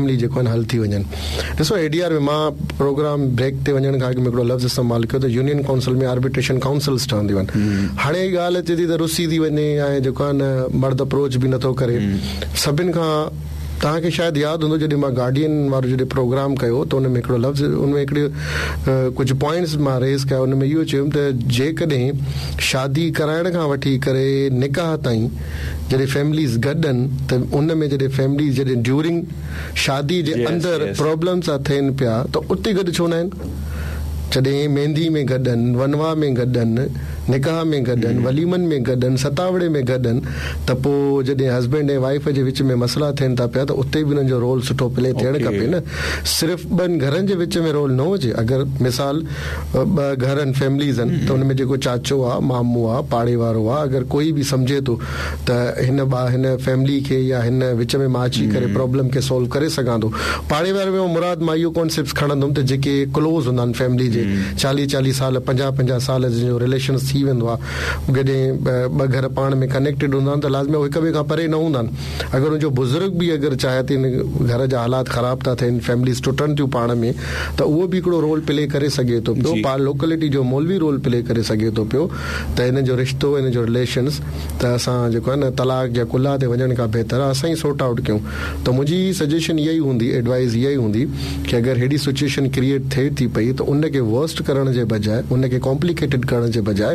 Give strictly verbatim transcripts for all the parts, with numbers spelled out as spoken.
Timely جيڪو آهي حل ٿي وڃن. ڏسو اي ڊي آر ۾ مان پروگرام بريڪ تي وڃڻ کان اڳ ۾ هڪڙو لفظ استعمال ڪيو ته يونين ڪائونسل ۾ آربيٽريشن ڪائونسلس ٺهنديون آهن. هاڻي ڳالهه اچي ٿي ته رسي ٿي وڃي ۽ جيڪو آهي نه مرد اپروچ به نٿو ڪري. سڀني کان توهان کي شايد ياد هوندو جڏهن مان گارڊين وارو جڏهن پروگرام ڪيو ته ان ۾ هڪڙو لفظ ان ۾ هڪڙي ڪجهه پوائنٽس مان ريز ڪيا. ان ۾ اهو چيم ته جيڪڏهن شادي ڪرائڻ کان وٺي ڪري نڪاح تائين جڏهن فيمليز گڏ آهن ته ان ۾ جڏهن فيمليز جڏهن ڊيورنگ شادي جي اندر پرابلمس ٿا ٿين پيا ته اتي گڏ ڇو نه آهن؟ جڏهن مهندي ۾ گڏ آهن، ونوا ۾ گڏ آهن، نڪاح ۾ گڏ آهن، وليمن ۾ گڏ آهن، ستاوڙي ۾ گڏ آهن ته پوءِ جڏهن هسبينڊ ۽ وائيف جي وچ ۾ مسئلا ٿين ٿا پيا ته اتي به انهن جو رول سٺو پلي ٿيڻ کپي نه. صرف ٻن گهرن جي وچ ۾ رول نه هجي. اگر مثال ٻه گهر آهن، فيمليز آهن ته ان ۾ جيڪو چاچو آهي، مامو آهي، پاڙي وارو آهي، اگر ڪوئي به سمجهي ٿو ته هن هن فيملي کي يا هن وچ ۾ مان اچي ڪري پرابلم کي سالو ڪري سگهان ٿو. پاڙي واري ۾ مراد مان اهو ڪانسيپٽ کڻندم ته جيڪي ڪلوز هوندا آهن فيملي جي چاليهه چاليهه سال پنجاهه پنجاهه سال جن جو رليشن ٿي ويندو آهي، جڏهن ٻه گهر پاڻ ۾ ڪنيڪٽيڊ هوندا آهن ته لازمي هڪ ٻئي کان پري نه هوندا آهن. اگر ان جو بزرگ به اگر چاهي ته هن گهر جا حالات خراب ٿا ٿين، فيمليز ٽٽن ٿيون پاڻ ۾ ته اهو به هڪڙو رول پلي ڪري سگهي ٿو پيو. لوڪلٽي جو مولوي رول پلي ڪري سگهي ٿو پيو ته هن جو رشتو، هن جو رليشنس ته اسان جيڪو آهي نه طلاق يا ڪلا تي وڃڻ کان بهتر آهي اسان ئي سارٽ آئوٽ ڪيون. ته منهنجي سجيشن اها ئي هوندي، ايڊوائز اها ئي هوندي ڪه اگر هيڏي سچوئيشن ڪريئيٽ ٿئي ٿي پئي ته ان کي ورسٽ ڪرڻ جي بجاءِ، ان کي ڪامپليڪيٽيڊ ڪرڻ جي بجاءِ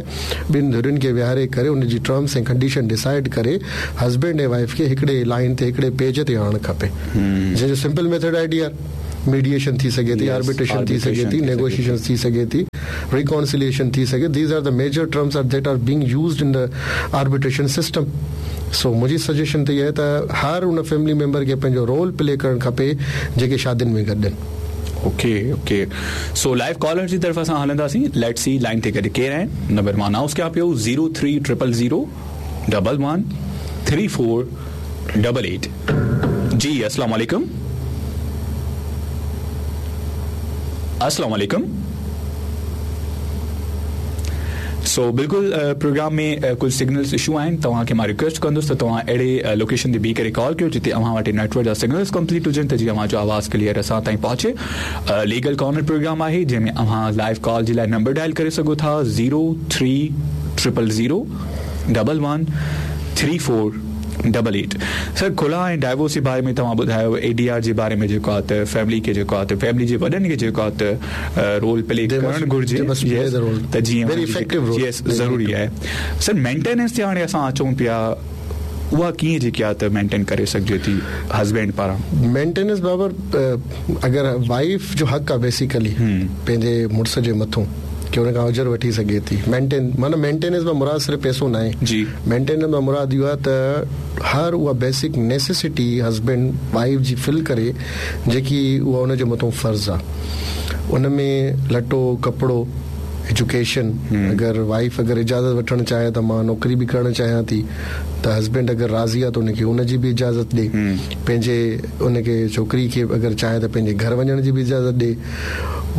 ٻن ڌرين کي ويهاري ڪري ان جي ٽرمس ۽ ڪنڊيشن ڊسائيڊ ڪري هسبينڊ ۽ وائيف کي هڪڙي لائن تي هڪڙي پيج تي آڻڻ کپي. جنهن جو سمپل ميٿڊ آهي ڊي آر ميڊيئيشن ٿي سگهي ٿي، آربيٽريشن ٿي سگهي ٿي، نيگوشيئيشن ٿي سگهي ٿي، ريڪانسليئيشن ٿي سگهي. These are the major terms are that are being used in the arbitration system. So منهنجي سجيشن ته اها آهي ته هر ان فيملي ميمبر کي پنهنجو رول پلي ڪرڻ کپي جيڪي شادين ۾ گڏ آهن. Okay okay so live caller جي طرف اسان هلنداسين. Let see line تي گڏ ڪير آهن. نمبر مان انائونس ڪيان پيو zero three triple zero double one three four double eight. جي السلام علیکم. السلام علیکم. سو بلڪل پروگرام ۾ ڪجهه سگنلز اشو آهن. توهان کي مان رڪويسٽ ڪندس ته توهان اهڙي لوڪيشن تي بيهي ڪري ڪال ڪيو جتي اوهان وٽ نيٽ ورڪ جا سگنلز ڪمپليٽ هجن ته جيئن اوهان جو آواز ڪليئر اسان تائين پهچي. ليگل ڪارنر پروگرام آهي جنهن ۾ اوهان لائيو ڪال جي لاءِ نمبر ڊائل ڪري سگهو ٿا zero three triple zero double one three four double eight. Sir خلع ۽ divorce جي باري ۾ توهان ٻڌايو، اي ڊي آر جي باري ۾ جيڪو آهي ته فيملي کي جيڪو آهي ته فيملي جي وڏن کي جيڪو آهي ته رول پلي ڪرڻ گهرجي ته جيئن يس ضروري آهي. سر مينٽيننس تي هاڻي اسان اچون پيا، اها ڪيئن جيڪي آهي ته مينٽين ڪري سگهجي ٿي هسبينڊ پاران؟ مينٽيننس بابر اگر وائيف جو حق آهي بيسيڪلي پنهنجي مڙس جي مٿون ڪه هن کان اجر وٺي سگهي ٿي. مينٽين معنيٰ مينٽيننس مان مراد صرف پئسو نه آهي. جي مينٽيننس مان مراد اهو آهي ته هر اها بيسڪ نيسيسٽي هسبينڊ وائيف جي فل ڪري جيڪي اها هن جي مٿان فرض آهي. ان ۾ لٽو، ڪپڙو، ايجوڪيشن، اگر وائيف اگر اجازت وٺڻ چاهي ته مان نوڪري به ڪرڻ چاهيان ٿي ته هسبينڊ اگر راضي آهي ته ان کي ان جي به اجازت ڏي. پنهنجي ان کي ڇوڪري کي اگر چاهي ته پنهنجي گهر وڃڻ جي به اجازت ڏي.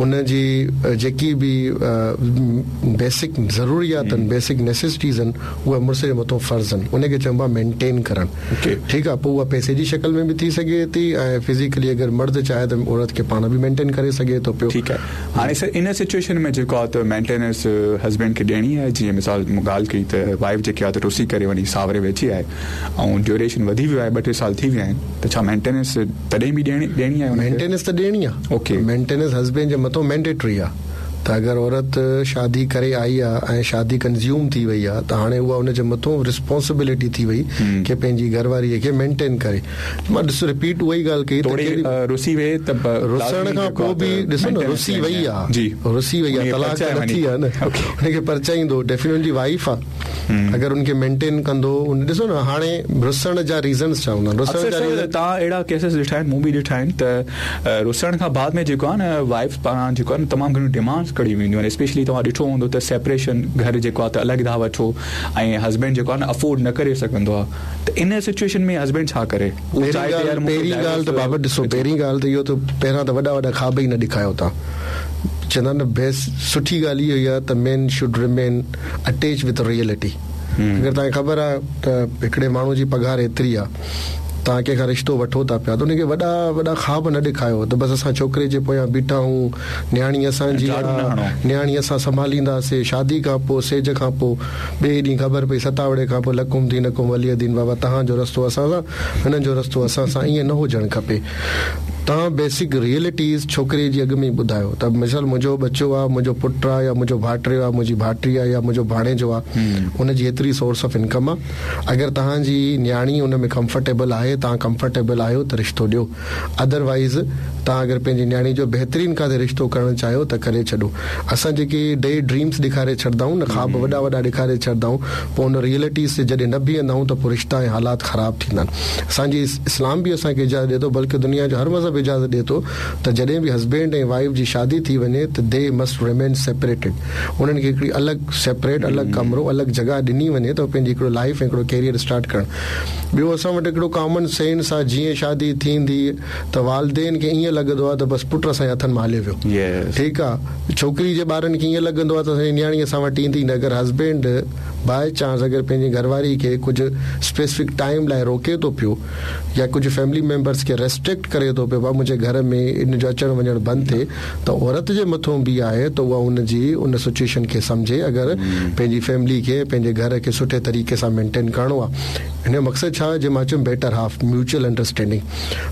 ان جي جيڪي به بيسڪ ضروريات آهن، بيسڪ نيسيسٽيز آهن، اها مڙس جي مٿان فرض آهن. ان کي چئبو آهي مينٽين ڪرڻ. ٺيڪ آهي، پوءِ اها پئسي جي شڪل ۾ به ٿي سگهي ٿي ۽ فزيڪلي اگر مرد چاهي ته عورت کي پاڻ به مينٽين ڪري سگهي ٿو پيو. ٺيڪ آهي، هاڻي سر ان سچوئيشن ۾ جيڪو آهي ته مينٽيننس هسبينڊ کي ڏيڻي آهي، جيئن مثال مون ڳالهه ڪئي ته وائيف جيڪي آهي ته رسي ڪري وڃي ساوري ويٺي آهي ۽ ڊيوريشن وڌي ويو آهي، ٻه ٽي سال ٿي ويا آهن، ته ڇا مينٽيننس تڏهن به ڏيڻي ڏيڻي آهي؟ مينٽيننس ته ڏيڻي آهي. اوڪي، مينٽيننس هسبينڊ جي مٿان مينڊيٽري آهي ته اگر عورت شادي ڪري آئي آهي ۽ شادي ڪنزيوم ٿي وئي آهي ته هاڻي اها ان جي مٿان رسپانسبلٽي ٿي وئي ڪه پنهنجي گهر واريءَ کي مينٽين ڪري. مان ڏسو رپيٽ اها ئي ڳالهه ڪئي ته رسي وئي ته رسڻ کان پوءِ به ڏسو نه رسي وئي آهي، رسي وئي آهي، طلاق ته نه ٿي آهي نه، هن کي پرچائيندو ڊيفينيٽلي هن جي وائيف آهي. اگر ان کي مينٽين ڪندو، ڏسو نه هاڻي رسڻ جا ريزنس ڇا هوندا آهن؟ رسڻ جا ريزن توهان اهڙا ڪيسز ڏٺا آهن، مون به ڏٺا آهن ته رسڻ کان بعد ۾ جيڪو آهي نه وائيف پاران جيڪو آهي نه تمام گهڻيون ڊمانڊس ڪڍي وينديون آهن. اسپيشلي توهان ڏٺو هوندو ته سيپريشن گهر جيڪو آهي ته الڳ ٿا وٺو ۽ هسبينڊ جيڪو آهي نه افورڊ نه ڪري سگهندو آهي ته ان سچوئيشن ۾ هسبينڊ ڇا ڪري؟ پهرين ڳالهه ته بابت ڏسو، پهرين ڳالهه ته اهو ته پهريان ته وڏا وڏا خواب ئي نه ڏيکايو توهان. چوندا آهن نه بيسٽ سٺي ڳالهه اها ئي آهي ته men should remain attach with reality. اگر توهان کي خبر آهي ته هڪڙي ماڻهوءَ جي پگهار ايتري آهي توهان ڪنهن کان رشتو وٺو ٿا پيا ته ان کي وڏا وڏا خواب نه ڏيکاريو ته بس اسان ڇوڪري جي پويان بيٺا آهيون، نياڻي اسان جي آهي، نياڻي اسان سنڀالينداسين. شادي کان پوءِ سيج کان پوءِ ٻئي ڏينهن خبر پئي ستاوڙي کان پوءِ لڪم ٿي نڪم ولي دين بابا توهان جو رستو اسان سان، هنن جو رستو اسان سان، ائين نه هجڻ کپي. توهان بيسڪ ريئلٽيز ڇوڪري جي اڳ ۾ ئي ٻڌايو ته مثال منهنجو ٻچو آهي، منهنجو پٽ آهي، يا منهنجو ڀائٽيو آهي، منهنجي ڀائٽي آهي، يا منهنجو ڀاڻيجو آهي، ان جي ايتري سورس آف انڪم آهي. اگر توهان جي نياڻي ان ۾ ڪمفرٽيبل آهي، توهان ڪمفرٽيبل آهيو ته رشتو ڏيو. ادروائيز توهان اگر پنهنجي نياڻي جو بهترين ڪاٿي رشتو ڪرڻ چاهيو ته ڪري ڇڏو. اسان جيڪي ڊي ڊريمس ڏيکاري ڇڏندا آهيون نه، خواب وڏا وڏا ڏيکاري ڇڏندا آهيون، پوءِ ان ريئلٽيز تي جڏهن نه بيهندا آهيون ته پوءِ رشتا ۽ حالات خراب ٿيندا آهن. اسان جي اسلام به اسان کي اجازت ڏئي ٿو، بلڪه دنيا جو هر مذهب اجازت ڏئي ٿو ته جڏهن به هسبينڊ ۽ وائيف جي شادي ٿي وڃي ته the must remain separated. انهن کي هڪڙي الڳ سيپريٽ الڳ ڪمرو الڳ جڳهه ڏني وڃي ته پنهنجي هڪڙو لائيف ۽ هڪڙو ڪيريئر اسٽارٽ ڪرڻ. ٻيو اسان وٽ هڪڙو ڪامن سينس آهي، جيئن شادي ٿيندي ته والدين کي ائين لڳندو آهي ته بس پٽ اسان جي هٿن مان هلي ويو. ٺيڪ آهي، ڇوڪري جي ٻارن کي ائين لڳندو آهي ته اسان جي نياڻي اسان وٽ ايندي نه. اگر هسبينڊ باءِ چانس اگر پنهنجي گهرواري کي ڪجهه اسپيسفڪ ٽائيم لاءِ روڪي ٿو پيو يا ڪجهه فيملي ميمبرس کي ريسٽرڪٽ ڪري ٿو پيو، منهنجي گهر ۾ ان جو اچڻ وڃڻ بند ٿئي، ته عورت جي مٿان به آهي ته اها ان جي ان سچوئيشن کي سمجهي. اگر پنهنجي فيملي کي پنهنجي گهر کي سٺي طريقي سان مينٽين ڪرڻو آهي، هن جو مقصد ڇا آهي؟ جي مان چيم better half, mutual understanding.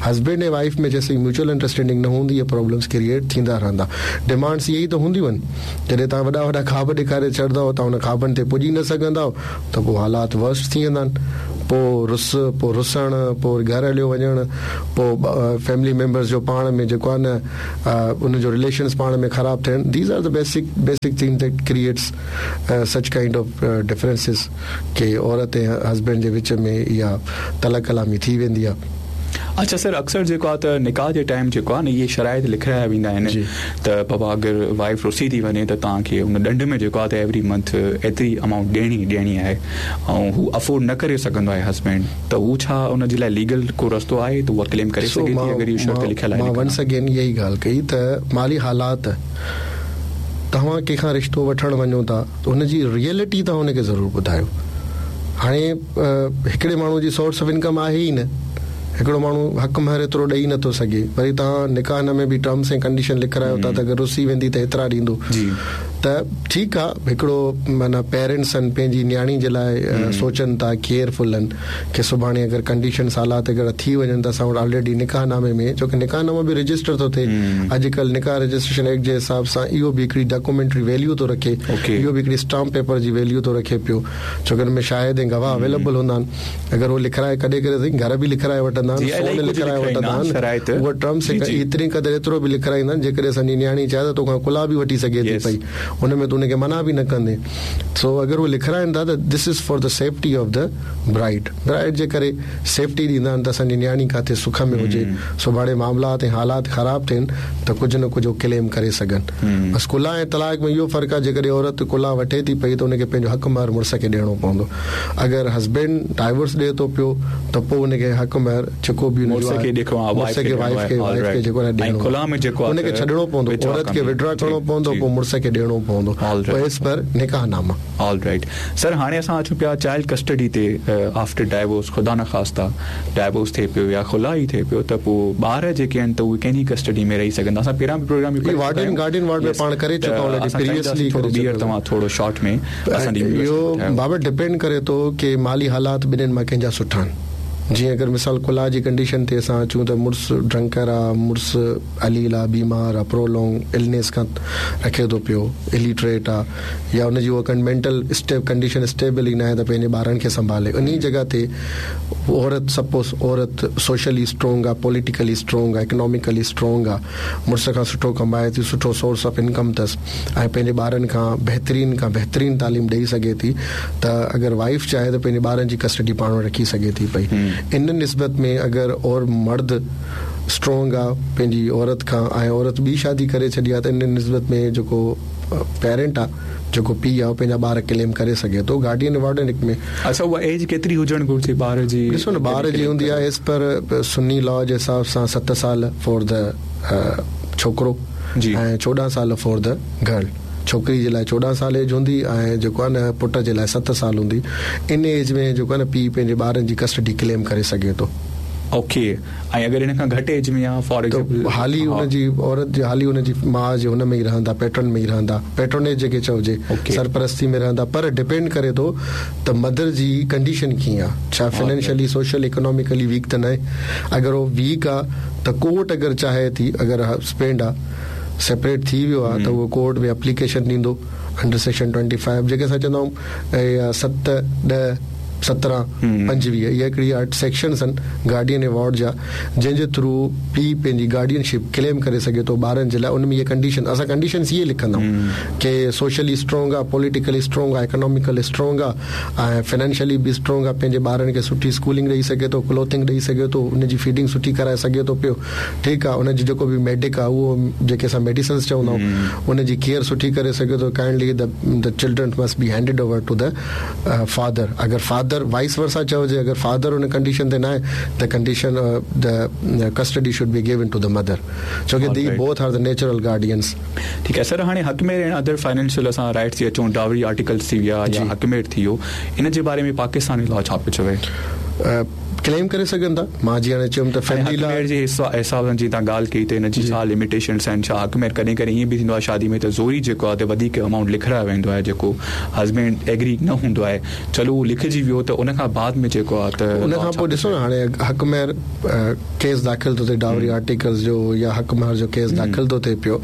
Husband ۽ wife ۾ جيسين ميوچل انڊرسٽينڊنگ نه هوندي، اهي پرابلمس ڪريئيٽ ٿيندا رهندا. ڊمانڊس اهي ئي ته هونديون آهن. جڏهن توهان وڏا وڏا خواب ڏيکاري ڇڏندؤ، توهان هن خوابن تي پڄي نه سگهندؤ ته پوءِ حالات ورسٽ ٿي ويندا آهن. پوءِ رس، پوءِ رسڻ، پوءِ گهر هليو وڃڻ، پوءِ فيملي ميمبرس جو پاڻ ۾ جيڪو آهي نه ان جو رليشنس پاڻ ۾ خراب ٿيڻ. These are the basic basic thing that creates such kind of differences ڪه عورت ۽ هسبينڊ جي وچ ۾ اها تلخ ڪلامي ٿي ويندي آهي. اڇا سر، اڪثر جيڪو آهي ته نڪاح جي ٽائيم جيڪو آهي نه اهي شرائط لکرايا ويندا آهن ته بابا اگر وائيف رسي ٿي وڃي ته توهان کي ان ڏنڊ ۾ جيڪو آهي ته ايوري منٿ ايتري امائونٽ ڏيڻي ڏيڻي آهي، ۽ هو افورڊ نه ڪري سگهندو آهي هسبينڊ، ته هو ڇا ان جي لاءِ ليگل ڪو رستو آهي ته اها ڪليم ڪري سگهي ٿي اگر اهو شرط لکيل آهي؟ مان ونس اگين اها ئي ڳالهه ڪئي ته مالي حالات توهان ڪنهن کان رشتو وٺڻ وڃو ٿا ته هن جي ريئلٽي توهان هن کي ضرور ٻڌايو. هاڻي هڪڙي ماڻهوءَ جي سورس آف انڪم آهي ئي نه، هڪڙو ماڻهو حق مهر ايترو ڏيئي نٿو سگهي، وري توهان نڪاح ۾ به ٽرمس ۽ ڪنڊيشن لکرايو ٿا ته اگر رسي ويندي ته ايترا ڏيندو. ته ٺيڪ آهي، هڪڙو معنيٰ پيرنٽس آهن پنهنجي نياڻي جي لاءِ سوچن ٿا، ڪيئرفل آهن ڪه سڀاڻي اگر ڪنڊيشنس حالات اگر ٿي وڃن ته اسان وٽ آلريڊي نڪاح نامي ۾، ڇو ڪه نڪاح نامو به رجسٽر ٿو ٿئي اڄڪلهه، نڪاح رجسٽريشن ايڪٽ جي حساب سان اهو به هڪڙي ڊاڪيومينٽري ويليو ٿو رکي، اهو به هڪڙي اسٽامپ پيپر جي ويليو ٿو رکي پيو، ڇو ڪه هن ۾ شاهد ۽ گواهه اويليبل هوندا آهن. اگر اهو لکرائي ڪڏهن ڪڏهن گهر به لکرائي وٺندا آهن، سون لکرائي وٺندا آهن، اهو ٽرمس ايتري قدر ايترو به لکرائيندا آهن جيڪڏهن اسان جي نياڻي چاهي ته توکان ڪلا به وٺي سگهي ٿي پئي، هن ۾ تون هن کي منع به نه ڪندي. سو اگر اهي لکرائين ٿا ته this is for the safety of the bride. Bride جي ڪري سيفٽي ڏيندا آهن ته اسان جي نياڻي ڪاٿي سک ۾ هجي، سڀاڻي معاملات ۽ حالات خراب ٿين ته ڪجهه نه ڪجهه ڪليم ڪري سگهن. بس ڪلا ۽ طلاق ۾ اهو فرق آهي، جيڪڏهن عورت ڪلا وٺي ٿي پئي ته هن کي پنهنجو حق مهر مڙس کي ڏيڻو پوندو. اگر هسبينڊ ڊائيورس ڏئي ٿو پيو ته پوءِ هن کي حق مهر جيڪو به مڙس کي ڏيکو مڙس کي وائيف کي وائيف کي جيڪو ڏيڻو، هن کي ڇڏڻو پوندو، عورت کي وڊرا ڪرڻو پوندو، پوءِ مڙس کي ڏيڻو پوندو ايز پر نڪاح ناما. آل رائيٽ سر، هاڻي اسان اچون پيا چائلڊ ڪسٽڊي تي. آفٽر ڊائيورس، خدا نه خواسته ڊائيورس ٿئي پيو يا خلا ئي ٿئي پيو ته پوءِ ٻار جيڪي آهن ته اهي ڪنهن جي ڪسٽڊي ۾ رهي سگهندا؟ اسان پهريان به پروگرام وارڊن گارڊين وارڊ ۾ پاڻ ڪري چڪا آهيون پريويسلي. ٿورو ٻيهر توهان ٿورو شارٽ ۾ اسان جي اهو بابت ڊپينڊ ڪري ٿو ڪه مالي حالات ٻنهن مان ڪنهن جا سٺا آهن. جيئن اگر مثال ڪلا جي ڪنڊيشن تي اسان اچون ته مڙس ڊرنڪر آهي، مڙس عليل آهي، بيمار آهي، پرولونگ النيس کان رکي ٿو پيو، الٽريٽ آهي، يا هن جي اها مينٽل اسٽيپ ڪنڊيشن اسٽيبل ئي نه آهي ته پنهنجي ٻارن کي سنڀالي. ان جڳهه تي عورت سپوز عورت سوشلي اسٽرانگ آهي، پوليٽيڪلي اسٽرانگ آهي، اڪناميڪلي اسٽرانگ آهي، مڙس کان سٺو ڪمائي ٿي، سٺو سورس آف انڪم اٿس ۽ پنهنجي ٻارن کان بهترين کان بهترين تعليم ڏيئي سگهي ٿي، ته اگر وائيف چاهي ته پنهنجي ٻارن جي ڪسٽڊي پاڻ وٽ رکي سگهي ٿي پئي. ان نسبت ۾ اگر اور مرد اسٽرانگ آهي پنهنجي عورت کان ۽ عورت ٻي شادي ڪري ڇڏي آهي ته ان نسبت ۾ جيڪو پيرنٽ آهي، جيڪو پيءُ آهي، اهو پنهنجا ٻار ڪليم ڪري سگهي ٿو گارڊين وارڊن هڪ ۾. اڇا، اها ايج ڪيتري هجڻ گهرجي ٻار جي؟ ڏسو نه، ٻار جي هوندي آهي ايز پر سني لا جي حساب سان ست سال فار the ڇوڪرو ۽ چوڏهن سال فار the girl. ڇوڪري جي لاءِ چوڏهن سال ايج هوندي ۽ جيڪو آهي نه پٽ جي لاءِ ست سال هوندي. ان ايج ۾ جيڪو آهي نه پيءُ پنهنجي ٻارن جي ڪسٽڊي ڪليم ڪري سگهي ٿو. ओके ऐं अगरि हिन खां घटि एज में आहे फॉर एग्ज़ाम्पल हाली हुनजी औरत जे हाली हुनजी माउ जे हुन में ई रहंदा पैटर्न में ई रहंदा पैट्रोनेज जेके चइजे सरपरस्ती में रहंदा पर डिपेंड करे थो त मदर जी कंडीशन कीअं आहे छा फाइनेंशियली सोशल इकोनॉमिकली वीक त न आहे अगरि उहो वीक आहे त कोर्ट अगरि चाहे थी अगरि हस्बैंड आहे सेपरेट थी वियो आहे त उहो कोर्ट में एप्लीकेशन ॾींदो अंडर सेक्शन ट्वेंटी फाइव जेके असां चवंदा आहियूं सत ॾह सत्रहं पंजवीह इहा हिकिड़ी अठ सेक्शन्स आहिनि गार्डियन अवार्ड जा जंहिंजे थ्रू पीउ पंहिंजी गार्डियनशिप क्लेम करे सघे थो ॿारनि जे लाइ उन में इहे कंडीशन असां कंडीशन्स इहे लिखंदा आहियूं की सोशली स्ट्रॉन्ग आहे पॉलिटिकली स्ट्रॉन्ग आहे इकोनॉमिकली स्ट्रॉन्ग आहे ऐं फाइनेंशियली बि स्ट्रॉन्ग आहे पंहिंजे ॿारनि खे सुठी स्कूलिंग ॾेई सघे थो क्लोथिंग ॾेई सघे थो उनजी फीडिंग सुठी कराए सघे थो पियो ठीकु आहे उनजो जेको बि मेडिक आहे उहो जेके असां मेडिसिन्स चवंदा आहियूं उनजी केयर सुठी करे सघे थो kindly the the children must be handed over to the father अगरि फादर वाइस वर्सा चइजे अगरि फादर उन कंडीशन ते न आहे the condition the custody should be given to the mother छो की the both are the natural guardians. ठीकु आहे सर हाणे हक़ में अदर फाइनेंशियल असां राइट्स थी अचूं डावरी आर्टिकल्स थी विया या हक़ में थी वियो इन जे बारे में पाकिस्तानी लॉ छा पियो चवे? क्लेम करे सघनि था मां जीअं हाणे चयुमि त फैमिली लॉ जे हिसाब सां जीअं तव्हां ॻाल्हि कई त हिन जी छा लिमिटेशन्स आहिनि छा हक़ में कॾहिं कॾहिं ईअं बि थींदो आहे शादी में त ज़ोरी जेको आहे त वधीक अमाउंट लिखारायो वेंदो आहे जेको हस्बैंड एग्री न हूंदो आहे चलो उहो लिखिजी वियो त उन खां बाद में जेको आहे त उन खां पोइ ॾिसो न हाणे हक़ में केस दाख़िल थो थिए डावरी आर्टिकल्स जो या हक़ महर जो केस दाख़िल थो थिए पियो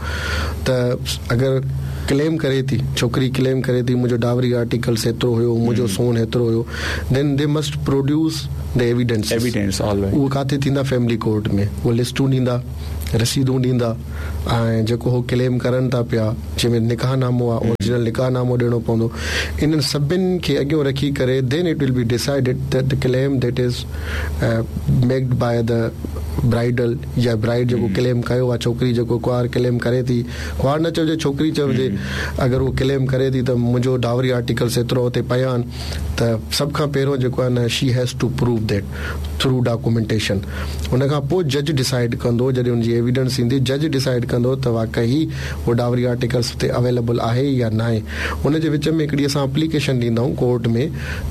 त अगरि क्लेम करे थी छोकिरी क्लेम करे थी मुंहिंजो डावरी आर्टिकल्स एतिरो हुयो मुंहिंजो सोन एतिरो हुयो then they must produce the evidence evidence always उहो किथे थींदा फैमिली कोर्ट में उहे लिस्टूं ॾींदा रसीदूं ॾींदा ऐं जेको हो क्लेम करनि था पिया जंहिंमें निकाह नामो आहे ओरिजिनल निकाह नामो ॾियणो पवंदो इन्हनि सभिनि खे अॻियां रखी करे then it will be decided that the claim that is made by the bridal या ब्राइड जेको क्लेम कयो आहे छोकिरी जेको कुंवार क्लेम करे थी कुंवार न चइजे छोकिरी चइजे अगरि उहो क्लेम करे थी त मुंहिंजो डावरी आर्टिकल्स एतिरो हुते पिया आहिनि त सभ खां पहिरियों जेको आहे न she has to prove that through documentation. उन खां पोइ जज डिसाइड कंदो जॾहिं हुनजी एविडेंस ईंदी जज डिसाइड कंदो त वाकई उहो डावरी आर्टिकल्स हुते अवेलेबल आहे या न आहे। हुनजे विच में हिकिड़ी असां एप्लीकेशन ॾींदा आहियूं कोर्ट में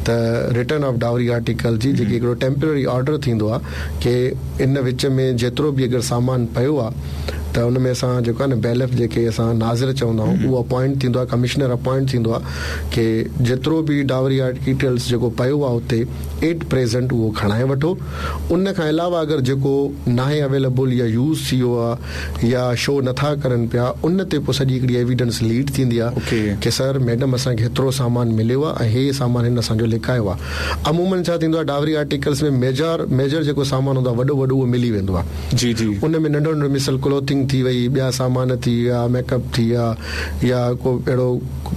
त रिटर्न ऑफ डावरी आर्टिकल जी जेकी हिकिड़ो टेम्पररी ऑर्डर थींदो आहे की इन विच में जेतिरो बि अगरि सामान पियो आहे त हुन में असां जेको आहे न बैलफ जेके असां नाज़िर चवंदा आहियूं उहो अपॉइंट थींदो आहे कमिश्नर अपॉइंट थींदो आहे की जेतिरो बि डावरी आर्टिकल्स जेको पियो आहे हुते एट प्रेजेंट उहो खणाए वठो। उन खां अलावा अगरि जेको नाहे अवेलेबल या यूज़ थी वियो आहे या शो नथा करनि पिया उन ते पोइ सॼी हिकिड़ी एविडेंस लीड थींदी आहे की सर मैडम असांखे हेतिरो सामान मिलियो आहे ऐं हे सामान हिन असांजो लिखायो आहे। अमूमन छा थींदो आहे डावरी आर्टिकल्स में मेजर मेजर जेको सामान हूंदो आहे वॾो वॾो उहो मिली वेंदो आहे जी जी उन में नंढो नंढो मिसल क्लोथिंग थी वई ॿिया सामान थी विया मेकअप थी विया या को अहिड़ो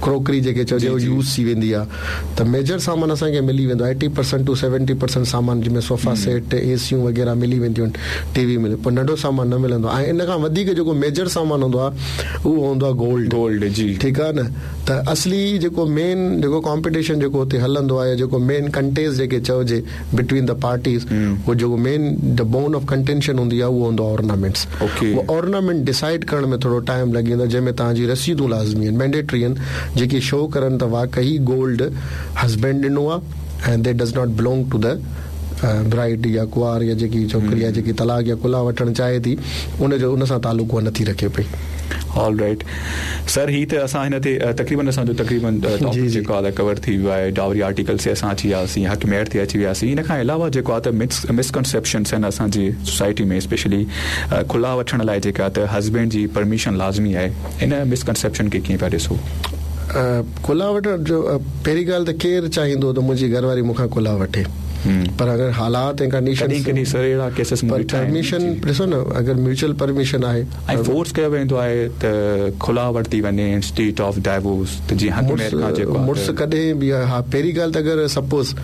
क्रोकरी जेके चइजे उहो यूज़ थी वेंदी आहे त मेजर सामान असांखे मिली वेंदो आहे eighty percent to seventy percent सामान जंहिंमें सोफ़ा सेट एसियूं वग़ैरह मिली वेंदियूं आहिनि टीवी मिले पर नंढो सामान न मिलंदो आहे। ऐं इन खां वधीक जेको मेजर सामान हूंदो आहे उहो हूंदो आहे गोल्ड गोल्ड जी ठीकु आहे न त असली जेको मेन जेको कॉम्पिटिशन जेको हुते हलंदो आहे जेको मेन कंटेस्ट जेके चइजे बिटवीन the parties उहो जेको main the bone of contention हूंदी आहे उहो हूंदो आहे ऑर्नामेंट्स। उहो ऑर्नामेंट डिसाइड करण में थोरो टाइम लॻी वेंदो जंहिंमें तव्हांजी रसीदूं लाज़मी आहिनि मैंडेटरी आहिनि जेके शो करनि त वाकई गोल्ड हस्बैंड ॾिनो आहे and they does not belong to the bride या कुंवार या जेकी छोकिरी आहे जेकी तलाक या कुला वठणु चाहे थी उनजो उन सां तालुक उहा नथी रखे पई। ऑल राइट सर ही त असां हिन ते तक़रीबन असांजो तक़रीबन टॉपिक जेको आहे कवर थी वियो आहे डावरी आर्टिकल ते असां अची वियासीं हक़ मेहर ते अची वियासीं। इन खां अलावा जेको आहे त मिस मिसकनसेप्शन्स आहिनि असांजी सोसाइटी में स्पेशली खुला वठण लाइ जेका त हस्बैंड जी परमिशन लाज़मी आहे इन मिसकनसेप्शन खे कीअं पिया ॾिसो? कुला वठण जो पहिरीं ॻाल्हि त केरु चाहींदो त मुंहिंजी घरवारी मूंखां कुला वठे पर अगरि हालात ऐं कंडीशन कॾहिं कॾहिं सर अहिड़ा केसिस पर परमिशन ॾिसो न अगरि म्यूचुअल परमिशन आहे ऐं फोर्स कयो वेंदो आहे त खुला वरिती वञे इंस्टीड ऑफ डाइवोर्स त जीअं हक़ में खां जेको मुड़ुस कॾहिं बि हा पहिरीं ॻाल्हि त अगरि सपोज़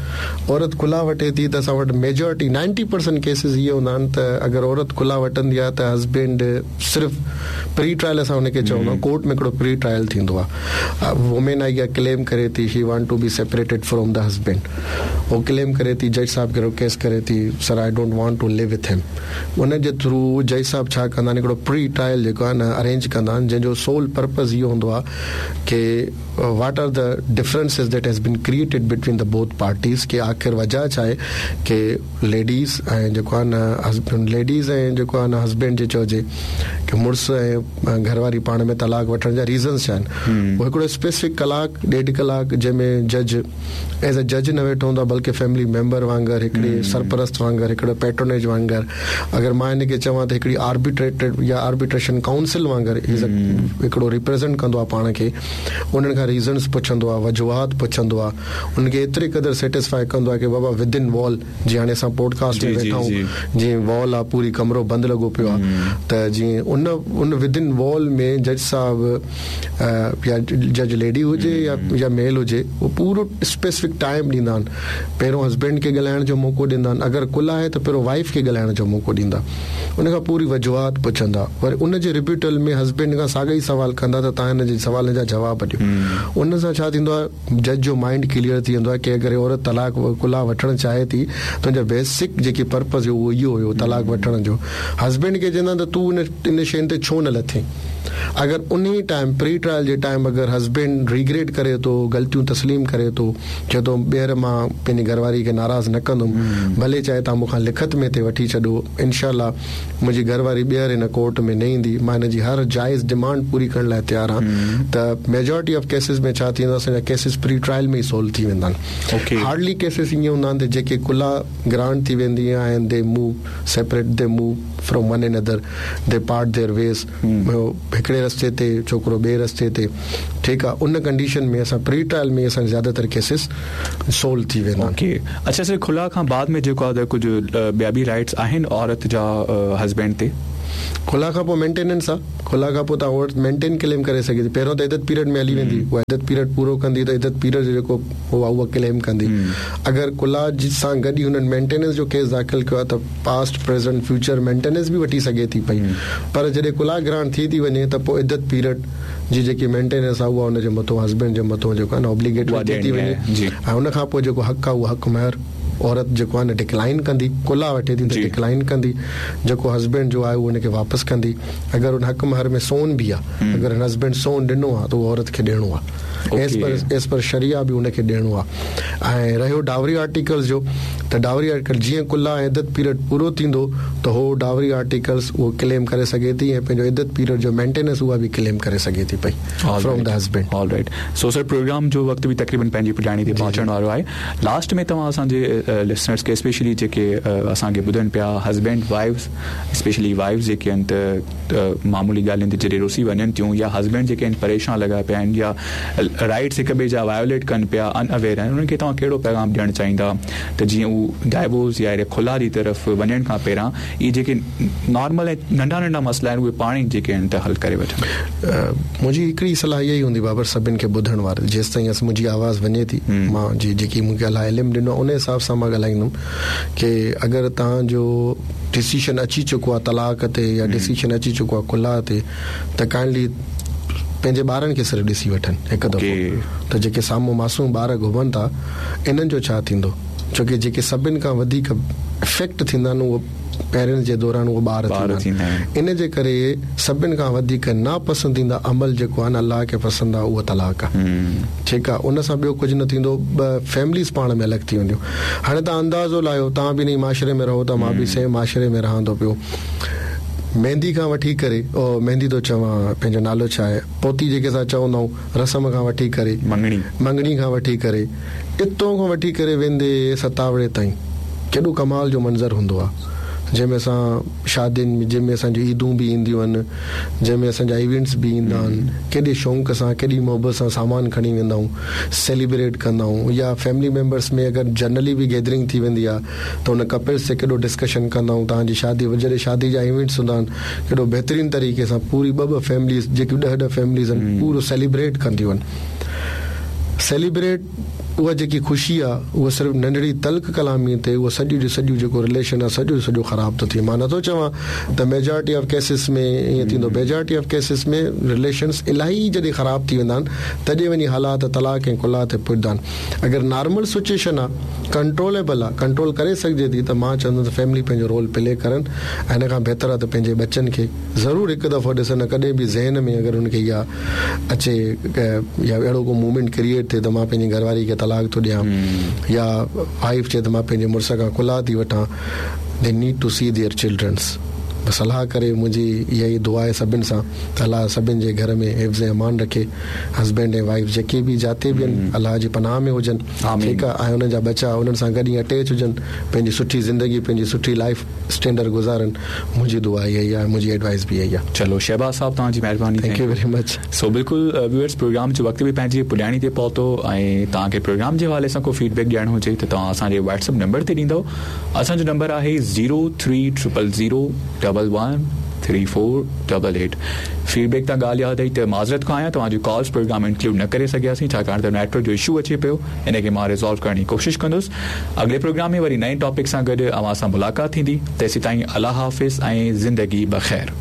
औरत खुला वठे थी त असां वटि मेजॉरिटी नाइंटी परसेंट केसिस इहे हूंदा आहिनि त अगरि औरत खुला वठंदी आहे त हस्बैंड सिर्फ़ु प्री ट्रायल असां हुनखे चवंदा आहियूं कोर्ट में हिकिड़ो प्री ट्रायल थींदो आहे। वुमेन आई क्लेम करे थी she want to be separated from the husband उहो क्लेम करे थी जज साहिब खे रिक्वेस्ट करे थी, sir I don't want to live with him. उन जे थ्रू जज साहिब छा कंदा आहिनि, हिकिड़ो प्री ट्रायल जेको आहे न अरेंज कंदा आहिनि, जंहिंजो सोल पर्पज़ इहो हूंदो आहे की what are the differences that has been created between the both parties, की आख़िर वजह छा आहे की लेडीज़ ऐं जेको आहे न हस्बैंड, लेडीज़ ऐं जेको आहे न हस्बैंड जे चइजे की मुड़ुस ऐं घरवारी पाण में तलाक़ वठण जा रीज़न्स छा आहिनि। उहो हिकिड़ो स्पेसिफिक कलाक ॾेढ कलाक जंहिंमें जज एज़ अ जज न वेठो हूंदो आहे, बल्कि फैमिली मेंबर वांगुरु, हिकिड़ी सरपरस्त वांगुरु, हिकिड़ो पैट्रोनेज वांगुरु, अगरि मां हिनखे चवां त हिकिड़ी आर्बिट्रेटेड या आर्बिट्रेशन काउंसिल वांगुरु हिकिड़ो रिप्रेज़ेंट कंदो आहे पाण खे, उन्हनि खां रीज़न्स पुछंदो आहे, वजूहात पुछंदो आहे, उनखे एतिरे क़दुरु सेटिस्फाई कंदो आहे की बाबा विद इन वॉल, जीअं हाणे असां पॉडकास्ट में वेठा आहियूं, जीअं वॉल आहे पूरी कमरो बंदि लॻो पियो आहे, त जीअं उन उन विद इन वॉल में जज साहिब या जज लेडी हुजे या या मेल हुजे, उहो पूरो स्पेसिफिक टाइम ॾींदा आहिनि। पहिरियों हस्बैंड खे ॻाल्हाइण जो मौक़ो ॾींदा आहिनि, अगरि कुल आहे त पहिरियों वाइफ खे ॻाल्हाइण जो मौक़ो ॾींदा, उन खां पूरी वजूहात पुछंदा, वरी उन जे रिब्यूटल में हस्बैंड खां साॻा ई सवाल कंदा त तव्हां हिन जे सवालनि जा जवाब ॾियो। उन सां छा थींदो आहे, जज जो माइंड क्लियर थी वेंदो आहे की अगरि औरत तलाक़ कुला वठणु चाहे थी त हुनजो बेसिक जेकी पर्पज़ हुयो उहो इहो हुयो तलाक़ वठण जो। हस्बैंड खे चवंदा त तूं इन इन शयुनि ते छो न लथे। अगरि उन ई टाइम प्री ट्रायल जे टाइम अगरि हस्बैंड रिग्रेट करे थो, ग़लतियूं तस्लीम करे थो, चए थो ॿीहर मां पंहिंजी घरवारी खे नाराज़ न कंदुमि, भले चाहे तव्हां मूंखां लिखत में ते वठी छॾो, इनशा मुंहिंजी घरवारी ॿीहर हिन कोर्ट में न ईंदी, मां हिन जी हर जाइज़ डिमांड पूरी करण लाइ तयारु आहियाँ। त मेजॉरिटी ऑफ केसिस में छा थींदो आहे, असांजा केसिस प्री ट्रायल में ई सोल्व थी वेंदा आहिनि। हार्डली केसिस ईअं हूंदा आहिनि त जेके कुला ग्रांट थी वेंदी आहे and they move separate, they move from one another, they part their ways, हिकिड़े रस्ते ते छोकिरो ॿिए रस्ते ते, ठीकु आहे। उन कंडीशन में असां प्री ट्रायल में असां ज़्यादातर केसिस सोल्व थी वेंदा आहिनि। ओके, अच्छा सर, खुला खां बाद में जेको आहे कुझु ॿिया बि राइट्स आहिनि औरत जा हस्बैंड ते? खुला खां पोइ मेंटेनेंस आहे, खुला खां पोइ तव्हां औरत मेंटेन क्लेम करे सघे थी। पहिरियों त इदत पीरियड में हली वेंदी, उहा इदत पीरियड पूरो कंदी त इदत पीरियड जो जेको उहा उहा क्लेम कंदी। अगरि कुला सां गॾु ई हुननि मेंटेनेंस जो केस दाख़िल कयो आहे त पास्ट प्रेज़ेंट फ्यूचर मेंटेनेंस बि वठी सघे थी पई, पर जॾहिं कुला ग्रांट थी थी वञे त पोइ इदत पीरियड जी जेकी मेंटेनेंस आहे उहा हुनजे मथां हस्बैंड जे मथां जेको आहे न ऑब्लिगेटरी थी थी वञे, ऐं हुन खां पोइ जेको हक़ आहे उहो हक़ महर औरत जेको आहे न डिक्लाइन कंदी, कुला वठे थी त डिक्लाइन कंदी, जेको हस्बैंड जो आहे उहो हुनखे वापसि कंदी। अगरि हुन हक़ महर में सोन बि आहे, अगरि हुन हस्बैंड सोन ॾिनो आहे त उहो औरत खे ॾियणो आहे, एज़ पर एज़ पर शरिया बि हुनखे ॾियणो आहे। ऐं रहियो डावरी आर्टिकल्स जो, त डावरी आर्टिकल जीअं कुला ऐं इदत पीरियड पूरो थींदो त हो डावरी आर्टिकल्स उहो क्लेम करे सघे थी ऐं पंहिंजो इदत पीरियड जो मेंटेनेंस उहा बि क्लेम करे सघे थी पई from the husband. All right, so sir programme जो वक़्तु बि तक़रीबन पंहिंजी पुॼाणी ते पहुचण वारो आहे। लास्ट में तव्हां असांजे लिसनर्स खे स्पेशली जेके असांखे ॿुधनि पिया, हस्बैंड वाइफ्स, स्पेशली वाइफ्स जेके आहिनि त मामूली ॻाल्हियुनि ते जॾहिं रुसी वञनि थियूं, या हस्बैंड जेके आहिनि परेशान लॻा पिया आहिनि या राइट्स हिक ॿिए जा वायोलेट कनि पिया, अनअवेयर आहिनि, उन्हनि खे तव्हां कहिड़ो पैगाम ॾियणु चाहींदा त जीअं हू डाइवोर्स या खुला जी तरफ़ वञण खां पहिरियां इहे जेके नॉर्मल ऐं नंढा नंढा मसइला आहिनि उहे पाण ई जेके आहिनि त हल करे वठनि? मुंहिंजी हिकिड़ी सलाह इहा ई हूंदी बाबर सभिनि खे ॿुधण वारे, जेसि ताईं असां मुंहिंजी आवाज़ वञे थी, मां जी जेकी मूंखे अलाह इल्मु ॾिनो आहे उन हिसाब सां मां ॻाल्हाईंदुमि की अगरि तव्हांजो डिसीजन अची चुको आहे तलाक़ ते या डिसीजन अची चुको आहे कुला ते, त काइंडली पंहिंजे ॿारनि खे सिर्फ़ु ॾिसी वठनि हिकु दफ़ो, त जेके साम्हूं मासूम ॿार घुमनि था इन्हनि जो छा थींदो, छो की जेके सभिनि खां वधीक इफ़ेक्ट थींदा आहिनि उहो पेरेंट्स जे दौरान उहो ॿार थींदा आहिनि। इन जे करे सभिनि खां वधीक नापसंदीदा अमल जेको आहे न अलाह खे पसंदि आहे उहो तलाक़ आहे, ठीकु आहे। उन सां ॿियो कुझु न थींदो, ॿ फैमिलीज़ पाण में अलॻि थी वेंदियूं। हाणे तव्हां अंदाज़ो लायो, तव्हां बि इन माशरे में रहो था, मां बि सेम माशरे में रहां थो पियो, मेहंदी खां वठी करे, ओ मेहंदी थो चवां, पंहिंजो नालो छा आहे, पोती जेके असां चवंदा आहियूं, रस्म खां वठी करे मंगणी, मंगणी खां वठी करे इतों खां वठी करे वेंदे सतावड़े ताईं केॾो कमाल जो मंज़र हूंदो आहे, जंहिंमें असां शादियुनि में, जंहिंमें असांजूं ईदूं बि ईंदियूं आहिनि, जंहिंमें असांजा इवेंट्स बि ईंदा आहिनि, केॾे शौक़ सां केॾी मोहबत सां सामान खणी वेंदा आहियूं, सेलिब्रेट कंदा आहियूं, या फैमिली मेम्बर्स में अगरि जनरली बि गैदरिंग थी वेंदी आहे त हुन कपल्स ते केॾो डिस्कशन कंदा आहियूं। तव्हांजी शादी, जॾहिं शादी जा इवेंट्स हूंदा आहिनि, केॾो बहितरीन तरीक़े सां पूरी ॿ ॿ फैमिलीज़ जेकी ॾह ॾह फैमिलीज़ आहिनि पूरो सेलिब्रेट कंदियूं आहिनि। सेलिब्रेट उहा जेकी ख़ुशी आहे उहा सिर्फ़ु नंढड़ी तल्ख़ कलामी ते उहो सॼो जो सॼो जेको रिलेशन आहे सॼो सॼो ख़राबु थो थिए। मां नथो चवां त मेजॉरिटी ऑफ केसिस में ईअं थींदो, मेजॉरिटी ऑफ केसिस में रिलेशन्स इलाही जॾहिं ख़राबु थी वेंदा आहिनि तॾहिं वञी हालात तलाक़ ऐं कुला ते पुॼंदा आहिनि। अगरि नॉर्मल सिचुएशन आहे, कंट्रोलेबल आहे, कंट्रोल करे सघिजे थी त मां चवंदुमि त फैमिली पंहिंजो रोल प्ले करनि ऐं हिन खां बहितरु आहे त पंहिंजे ॿचनि खे ज़रूरु हिकु दफ़ो ॾिसनि। कॾहिं बि ज़हन में अगरि हुनखे इहा अचे या अहिड़ो को मूवमेंट क्रिएट थिए त मां पंहिंजी घरवारी खे तलाक़ थो ॾियां या वाइफ चए त मां पंहिंजे मुड़ुस खां कुला थी वठां, they need to see their childrens. बसि अलाह करे मुंहिंजी इहा ई दुआ आहे सभिनि सां त अलाह सभिनि जे घर में हिफ़्ज़ अमान रखे, हस्बैंड ऐं वाइफ जेके बि जाते बि आहिनि अलाह जी पनाह में हुजनि, ठीकु आहे, ऐं हुननि जा बच्चा हुननि सां गॾु अटैच हुजनि, पंहिंजी सुठी ज़िंदगी पंहिंजी सुठी लाइफ स्टैंडर्ड गुज़ारनि। मुंहिंजी दुआ इहा ई आहे, मुंहिंजी एडवाइस बि इहा ई आहे। चलो शहबाज़ साहब, तव्हांजी महिरबानी, thank you very much. So बिल्कुलु व्यूअर्स, प्रोग्राम जो वक़्तु बि पंहिंजी पुॼाणी ते पहुतो ऐं तव्हांखे प्रोग्राम जे हवाले सां को फीडबैक ॾियणो हुजे त तव्हां असांजे व्हाट्सएप नंबर ते ॾींदव। असांजो नंबर आहे zero three triple zero double one three four double eight. Feedback तां ॻाल्हि यादि आई त माज़रत खां आहियां, तव्हांजो कॉल्स प्रोग्राम इंक्लूड न करे सघियासीं छाकाणि त नेटवर्क जो इशू अचे पियो, इन खे मां रिज़ॉल्व करण जी कोशिशि कंदुसि। अॻिले प्रोग्राम में वरी नए टॉपिक सां गॾु अव्हां सां मुलाक़ात थींदी, तेसीं ताईं अलाह हाफ़िज़ ऐं ज़िंदगी बख़ैर।